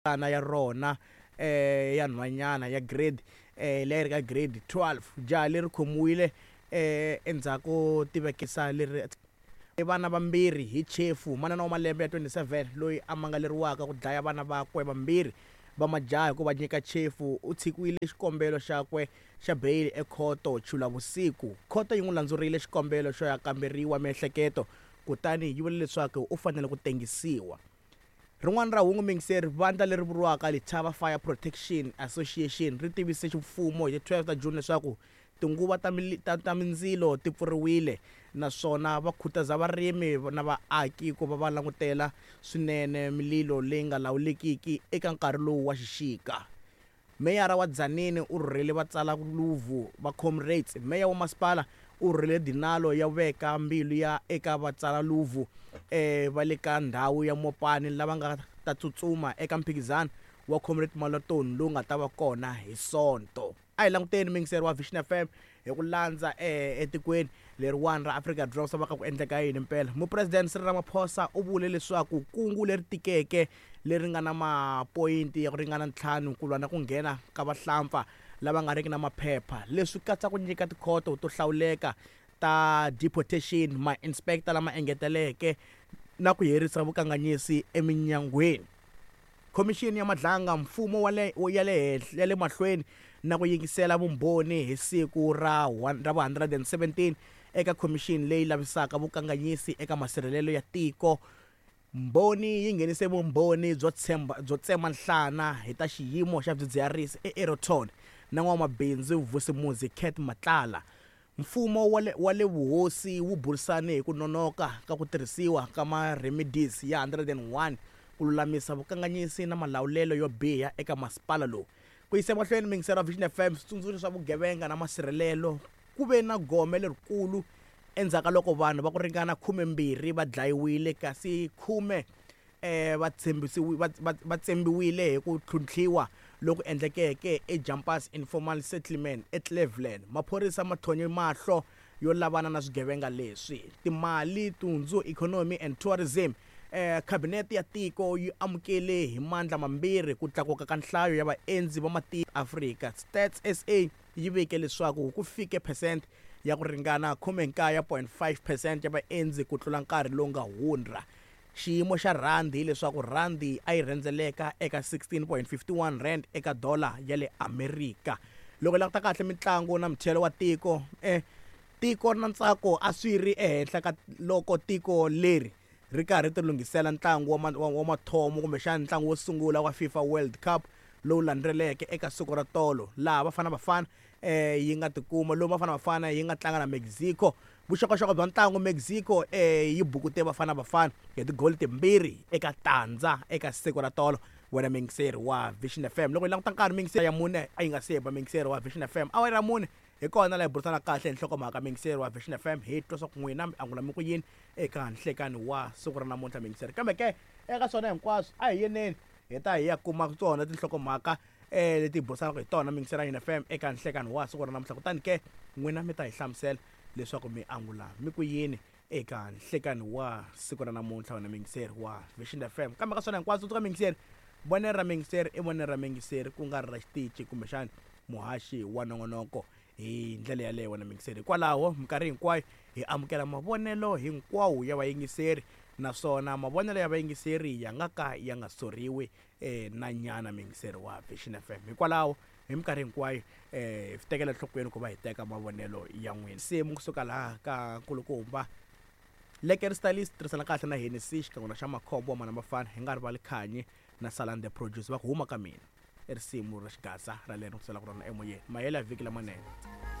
Ana ya rona ya nhwanyana ya grade leyi ri ka grade 12. Jaha leri khomiwile endzhaku tivekisa leri vana vambirhi hi chefu. Manana wa malembe ya 27 loyi a mangaleriwaka ku dlaya vana vakwe vambirhi va majaha hi ku va nyika chefu u tshikiwile xikombelo xakwe xa beyili ekhoto Chulavusiku. Khoto yi n'wi landzurile xikombelo xo ya kamberiwa miehleketo kutani yi vule leswaku u fanele ku tengisiwa. Rin'wana ra hungu muyingiseri, vandla leri vuriwaka Letaba Fire Protection Association ri tivise ximfumo hi ti 12 ta June leswaku tinguva ta, ta, ta mindzilo ti pfuriwile naswona va khutaza varimi na vaaki ku va va langutela swinene mililo leyi nga lawulekiki eka nkarhi lowu wa xixika. Meyara wa Tzaneen u rhurhele vatsalaluvu va Comrades. Meya wa masipala u rhurhele dinalo ya veka mbilu ya eka vatsalaluvu va le ka ndhawu ya Mopani lava nga ta tsutsuma eka mphikizano wa Comrade Marathon lowu nga ta va kona hi Sonto. A hi languteni muyingiseri wa Vision FM hi ku landza etikweni leriwani ra Afrika-Dzonga swa va ka ku endleka yini mpela. Mupresidente Cyril Ramaphosa u vule leswaku kungu leri tikeke leri nga na mapoyinti ya ku ringana ntlhanu ku lwa na ku nghena ka vahlampfa lava nga riki na maphepha. Leswi katsa ku nyika tikhoto to hlawuleka ta deportation, ma-inspector lama engeteleke na ku herisa vukanganyisi eminyangweni. Khomixini ya Madlanga Mfumo wa le ya le henhla ya le mahlweni na ku yingisela vumbhoni hi siku ra ra vu 117 eka khomixini leyi lavisaka vukanganyisi eka masirhelelo ya tiko. Mbhoni yi nghenise vumbhoni byo tshemba byo tsema nhlana hi ta xiyimo xa swidzidziharisi eAeroton na n'wamabindzu Vusimuzi Cat Matlala. Mfumo wa le wa le vuhosi wu burisane hi ku nonoka ka ku tirhisiwa ka ma-remedies ya 101 ku lulamisa vukanganyisi na malawulelo yo biha eka masipala lowu. Ku yisa emahlweni muyingiseri wa Vision FM switsundzuxo swa vugevenga na masirhelelo, ku ve na gome lerikulu endzhaku ka loko vanhu va ku ringana khumembirhi va dlayiwile kasi khume va tshembisiwi va va va tsembiwile hi ku tlhuntlhiwa loku endlekeke eJumpers Informal Settlement eCleveland. Maphorisa ma tlhonye mahlo yo lavana na swigevenga leswi. Timali, Tundzu, Economy and Tourism. Khabinete ya tiko yi amukele hi mandla mambirhi ku tlakuka ka nhlayo ya vaendzi va matiko Afrika. Stats SA yi vike leswaku ku fike phesente ya ku ringana 19.5 phesente ya vaendzi ku tlula nkarhi lowu nga hundra. Xiyimo xa rhandi hi leswaku rhandi a yi rhendzeleka eka 16.51 rand eka dola ya le Amerika. Loko hi languta kahle mitlangu na muthelo wa tiko, e tiko na ntsako a swi ri ehenhla ka loko tiko leri ri karhi ti lunghisela ntlangu wa wa mathomo kumbexana ntlangu wo sungula wa FIFA World Cup lowu landzeleke eka siku ra tolo laha Bafana Bafana yi nga tikuma lowu Bafana Bafana yi nga tlanga na Mexico. Vuxokoxoko bya ntlangu Mexico yi bukute Bafana Bafana hi tigoli timbirhi eka tandza eka siku ra tolo. Wena muyingiseri wa Vision FM, loko hi languta nkarhi muyingiseri ya mune a yi nga se ba muyingiseri wa Vision FM, awara ya mune hi kona laha hi burisana kahle hi nhlokomhaka muyingiseri wa Vision FM, hi twa swa ku n'wina mi angula mi ku yini eka nhlekani wa siku ra namuntlha muyingiseri. Kambe ke eka swona hinkwaswo a hi yeneni hi ta hi ya kuma tona tinhlokomhaka leti hi burisanaka hi tona muyingiseri wa Vision FM eka nhlekani wa siku ra namuntlha, kutani ke n'wina mi ta hi hlamusela leswaku mi angula mi ku yini eka nhlekani wa siku ra namuntlha wena muyingiseri wa Vision FM. Kambe ka swona hinkwaswo tsundzuka muyingiseri, vonelo ra muyingiseri i vonelo ra muyingiseri ku nga ri ra xitichi kumbexana muhaxi wa nongonoko hi ndlela yaleyo wena muyingiseri. Hikwalaho minkarhi hinkwayo hi amukela mavonelo hinkwawo ya vayingiseri naswona mavonelo ya vayingiseri ya nga ka ya nga soriwi na nyana muyingiseri wa Vision FM. Hikwalaho hi minkarhi hinkwayo hi swi tekela enhlokweni ku va hi teka mavonelo ya n'wina. Nsimu kusuka laha ka nkulukumba Lekker Stylist tirhisana kahle na Hennessy xikan'we na xa Makhombo wa Mhana Mafana hi nga rivali Khanyi na Salani the Producer va ku huma ka mina i risimu ra xigaza ra leri ni ku selaka rona emoyeni. Mahelo ya vhiki lamanene.